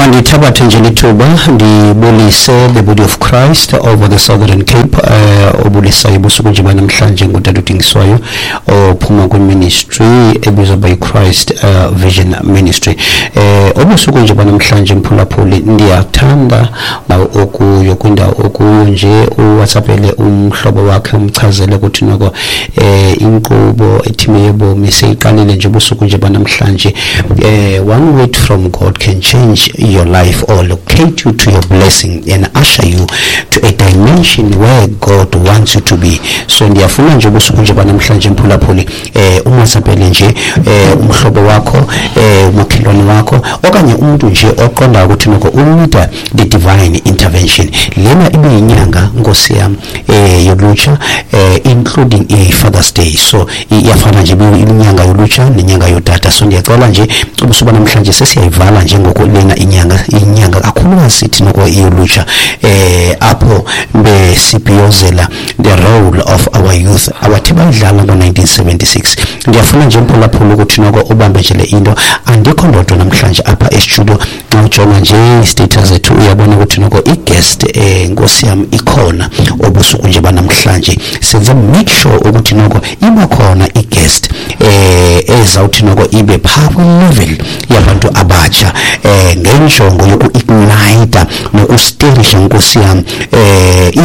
Mandithabathe nje lithuba ndibulise the body of Christ over the Southern Cape. Obulisayo busuku nje banamhlanje ngutata uDingiswayo ophuma kwiministry ebizwa by Christ Vision Ministry. Obusuku nje banamhlanje, mphulaphuli, ndiyathanda okuyo kwindawo okuyo nje uWhatsAppele umhlobo wakhe, umchazele ukuthi noko inkqubo ethime yobomi seyiqalile nje ubusuku nje banamhlanje. One word from God can change your life or locate you to your blessing and usher you to a dimension where God wants you to be. So ndiyafuna nje ubusuku nje banamhlanje, mphulaphuli, umWhatsAppele nje umhlobo wakho, umakhelwane wakho okanye umuntu nje oqondayo ukuthi noko u-need-a the divine intervention. Lena ibe yinyanga, nkosi yam, yolutsha, including i-Father's Day. So iyafana nje inyanga yolutsha nenyanga yotata. So ndiyacela nje ubusuku namhlanje sesiyayivala nje ngoku lena inyanga kakhulukazi sithi noko iyolutsha, apho besibhiyozela the role of our youth abathe bayidlala ngo-1976. Ndiyafuna nje, mphulaphula, ukuthi noko ubambe nje le into. Andikho ndodwa namhlanje apha e-studio. Xa ujonga nje i-status zethu uyabona ukuthi noko i-guest, nkosi yam, ikhona obusuku nje banamhlanje. Senze make sure ukuthi noko iba khona i-guest ezawuthi noko ibe phaa kwi-level yabantu abatsha ngenjongo yoku-ignite noku-stir-isha, nkosi yam,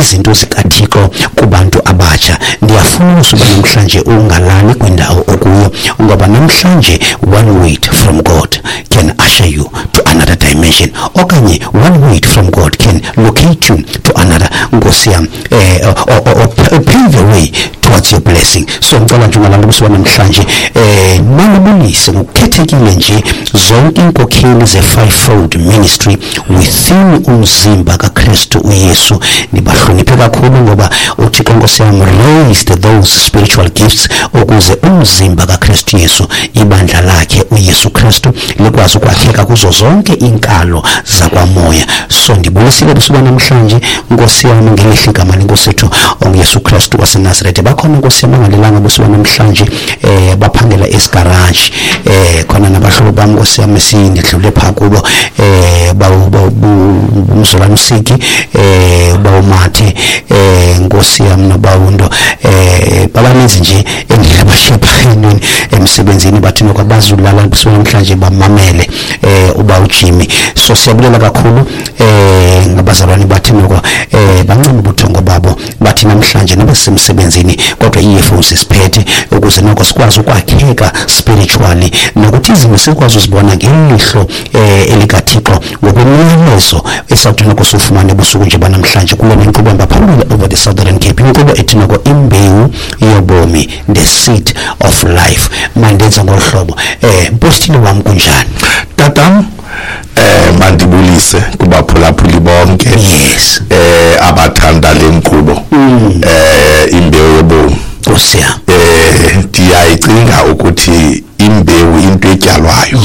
izinto zikaThixo kubantu abatsha. Ndiyafuna usuba namhlanje ungalali kwindawo okuyo, ngoba namhlanje one word from God can usher you to another dimension okanye one word from God can locate you to another, nkosi yam, or pave the way towards your blessing. So ngicela nje ungalali ubusuku namhlanje. Manibulise ngokukhethekile nje zonke inkokheli ze-fivefold ministry within umzimba kaKristu uYesu. Nibahloniphe kakhulu ngoba uThixo, nkosi yam, raised those spiritual gifts ukuze umzimba kaKristu Yesu, ibandla lakhe uYesu Kristu, likwazi ukwakheka kuzo zonke iinkalo zakwamoya. So ndibulisile busuku namhlanje, nkosi yam, ngelihle igama lenkosi yethu onguYesu Kristu waseNazaretha. Bakhona, nkosi yam, bangalelanga busuku namhlanje, baphangela esigaraji, khona nabahlobo bam, nkosi yam, esindidlule phaa kubo, umzolana usiki, bawumathe, nkosi yam, nobawundo, babaninzi nje endlela bashiye phaa entweni emsebenzini, bathi noko abazulala busuku namhlanje bamamele uba uJimmy. So siyabulela kakhulu ngabazalwane bathi noko bancama ubuthongo babo, bathi namhlanje noba sisemsebenzini kodwa ii-earphones siphethe ukuze noko sikwazi ukwakheka spiritually nokuthi izinto sikwazi uzibona ngelihlo elikaThixo ngokwemiyalezo esawuthi noko siwufumane busuku nje banamhlanje kule nkqubo hamba phambili over the Southern Cape, inkqubo ethi noko Imbewu Yobomi, The Seed of Life. Mandenze ngolu hlobo. Mpostile wam, kunjani? Tatam, mandibulise kubaphulaphuli bonke abathanda le nkqubo, Imbewu Yobomi. Nkosi yam. Ndiyayicinga ukuthi imbewu into etyalwayo.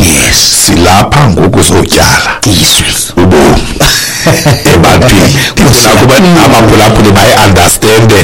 Silapha ngoku zotyala izwi ubomi ebantwini. Ndifuna kuba abaphulaphuli bayi-understande